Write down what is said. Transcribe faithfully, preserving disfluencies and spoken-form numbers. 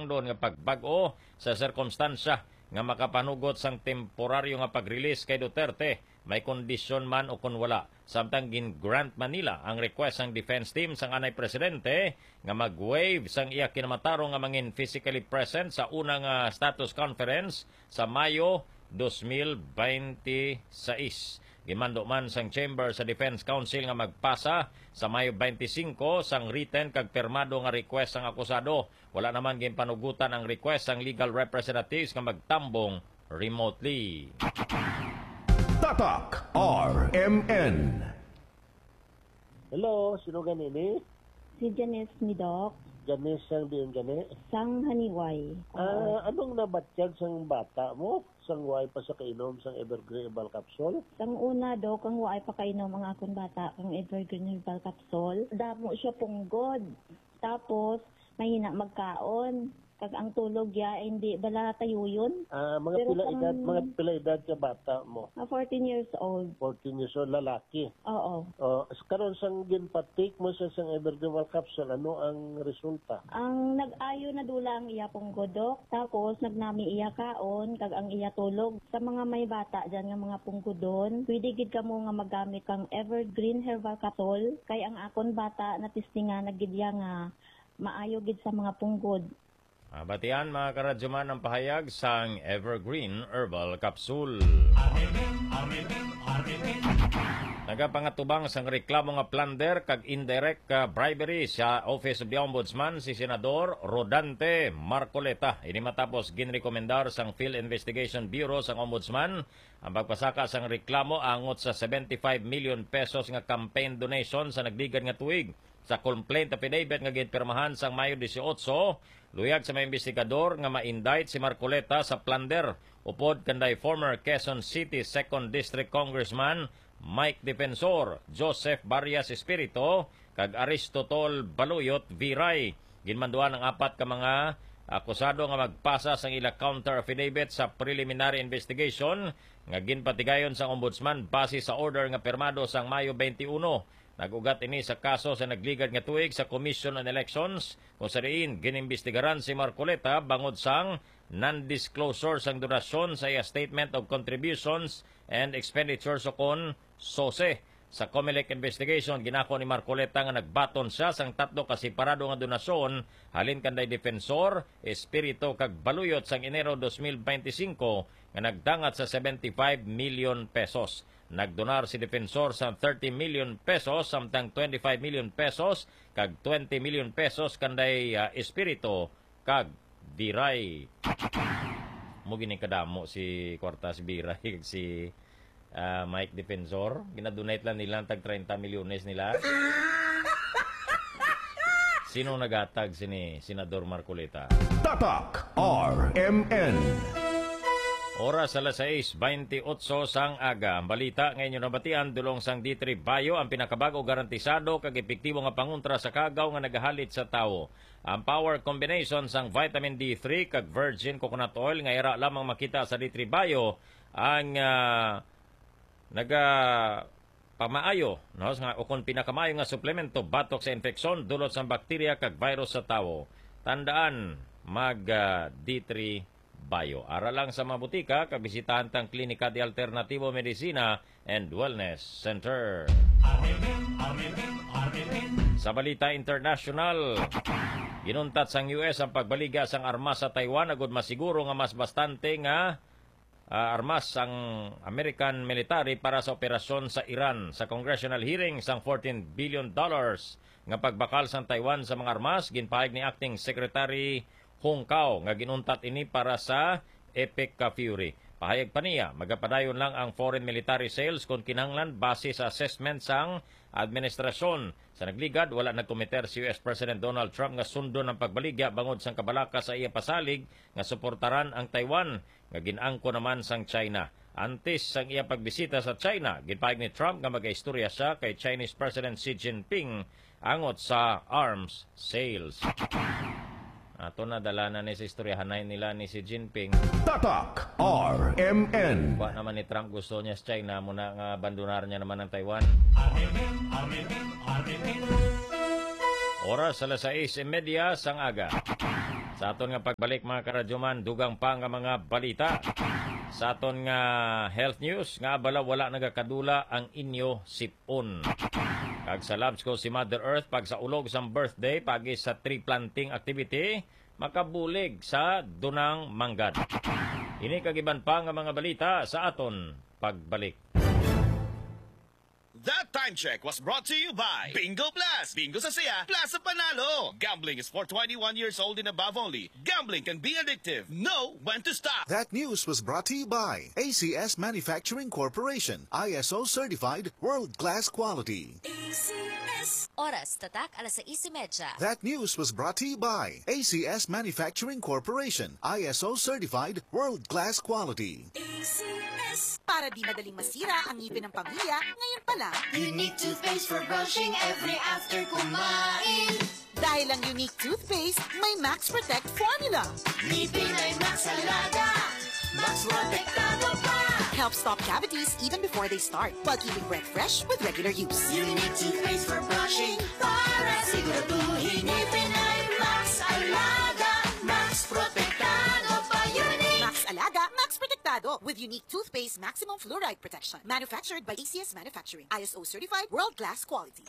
nga pagbag-o sa sirkumstansya nga makapanugot sang temporaryo nga pag-release kay Duterte, may kondisyon man o kon wala. Samtang gin-grant man nila ang request sang defense team sang anay presidente nga mag-waive sang iya kinamatarong nga mangin physically present sa una nga status conference sa Mayo dos mil bente seis. Ginmando man sang Chamber sa Defense Counsel nga magpasa sa Mayo twenty-five sang written kag pirmado nga request sang akusado. Wala naman ginpanugutan ang request sang legal representatives nga magtambong remotely. Tatak R M N. Hello, sino gani ni? Si Janice ni Doc, Janice sang diin gani? Sang Haniway. Ah, anong nabatyag sang bata mo? Sang way pa sa kainom sang Evergreen Herbal Capsule? Sang una, Doc, ang waay pa kainom ang akon bata kang Evergreen Herbal Capsule. Damo siya punggod. Tapos, mahina magkaon. Kag ang tulog ya, hindi bala tayuyon. Ah, mga Pero pila kung- edad, mga pila edad ka bata mo? Ah, fourteen years old. Fourteen years old, lalaki. Oo. Oh, s- karon sang ginpatik mo sa sang Evergreen Herbal Capsule, ano ang resulta? Ang nag-ayo na dula ang iya punggod, Doc. Tapos, nagnami iya kaon, kag ang iya tulog. Sa mga may bata dyan nga mga punggodon, pwede gid kamo nga magamit kang Evergreen Herbal Capsule. Kay ang akon bata, natistingan na gid iya nga maayo gid sa mga punggod. Mabatian, mga karadyoman, ang pahayag sang Evergreen Herbal Capsule. Nagapangatubang sang reklamo nga plunder kag indirect, ah, bribery sa Office of the Ombudsman si Senador Rodante Marcoleta. Ini matapos ginrekomendar sang Field Investigation Bureau sang Ombudsman ang pagpasaka sang reklamo angot sa seventy-five million pesos nga campaign donation sa nagligad nga tuig. Sa complaint affidavit nga ginpirmahan sang Mayo dieciocho, luyag sa mga investigador nga ma-indict si Marcoleta sa plunder upod kanday former Quezon City Second District Congressman Mike Defensor, Joseph Barrias Espirito, kag Aristotol Baluyot Viray. Ginmanduan ang apat ka mga akusado nga magpasa sang ila counter affidavit sa preliminary investigation nga ginpatigayon sang Ombudsman base sa order nga pirmado sang Mayo twenty-one. Nag-ugat ini sa kaso sa nagligad nga tuig sa Commission on Elections, kung sa diin ginimbestigaran si Marcoleta bangod sang non-disclosure sang donasyon sa iya Statement of Contributions and Expenditures, o kon SOCE. Sa Comelec investigation, ginako ni Marcoleta nga nagbaton siya sang tatlo ka separado nga donasyon halin kanday Defensor, Espirito, kag Baluyot sang Enero dos mil bente singko nga nagdangat sa seventy-five million pesos. Nagdonar si Defensor sa thirty million pesos, samtang twenty-five million pesos kag twenty million pesos kanday, ah, Espirito kag Viray. Mo gini kadamo si kwarta si Viray kag si, ah, Mike Defensor. Ginadonate lang nila tag treinta milyones nila. Sino nagatag sini, Senador Marcoleta? Tatak R M N. Oras alas sais baynte otso sang aga. Ang balita nga inyo nabatian dulong sang D three Bio, ang pinakabag-o, garantisado kag epektibo nga pangontra sa kagaw nga nagahalit sa tawo. Ang power combination sang vitamin D three kag virgin coconut oil nga ira lamang makita sa D three Bio ang, ah, naga pamaayo, no, nga, o kon pinakamaayo nga suplemento batok sa infeksyon dulot sang bakterya kag virus sa tawo. Tandaan, mag, ah, D three Bio. Ara lang sa mga butika kag bisitahan tang Klinika de Alternativo Medicina and Wellness Center. Sa balita international, ginuntat sang U S ang pagbaligya sang armas sa Taiwan agud masiguro nga mas bastante nga, ah, armas ang American military para sa operasyon sa Iran. Sa congressional hearing sang fourteen billion dollars nga pagbakal sang Taiwan sa mga armas, ginpahayag ni Acting Secretary Hong Kao nga ginuntat ini para sa Epic Fury. Pahayag pa niya, magapadayon lang ang foreign military sales kon kinahanglan base sa assessment sang administrasyon. Sa nagligad, wala nagkomiter si U S President Donald Trump nga sundon ang pagbaligya bangod sang kabalaka sa iya pasalig nga suportaran ang Taiwan, nga gin-angkon naman sang China. Antes sang iya pagbisita sa China, ginpahayag ni Trump nga magaistorya siya kay Chinese President Xi Jinping angot sa arms sales. Ato na, dala na ni sa istoryahanay nila ni Xi Jinping. Tatak R M N. Wa naman ni Trump gusto niya sa China, muna nga abandonar niya naman ang Taiwan. Oras alas sais y media sang aga. Sa aton nga pagbalik, mga karadyoman, dugang pa nga mga balita. Sa aton nga health news, nga bala wala nagakadula ang inyo sip-on. Kag sa Labs ko si Mother Earth, pagsaulog sang birthday, pagi sa tree planting activity, makabulig sa dunang manggad. Ini kag iban pa nga mga balita sa aton pagbalik. That time check was brought to you by Bingo Plus. Bingo sa saya, plus sa panalo. Gambling is for twenty-one years old and above only. Gambling can be addictive. Know when to stop. That news was brought to you by A C S Manufacturing Corporation, I S O certified, world class quality. Oras, tatak alas sais y media. That news was brought to you by A C S Manufacturing Corporation, I S O certified, world class quality. Para di madaling masira ang ngipin ng pamilya, ngayon pa lang. Unique toothpaste for brushing every after kumain. Dahil ang Unique Toothpaste may Max Protect Formula. Ngipin ay Max Alaga. Max Protektado pa. Helps stop cavities even before they start, while keeping breath fresh with regular use. Unique toothpaste for brushing para siguraduhin ngipin ay Max Alaga. Max Protektado pa. Unique. Max Alaga, Max Protektado, with Unique Toothpaste Maximum Fluoride Protection. Manufactured by A C S Manufacturing. I S O certified, world-class quality.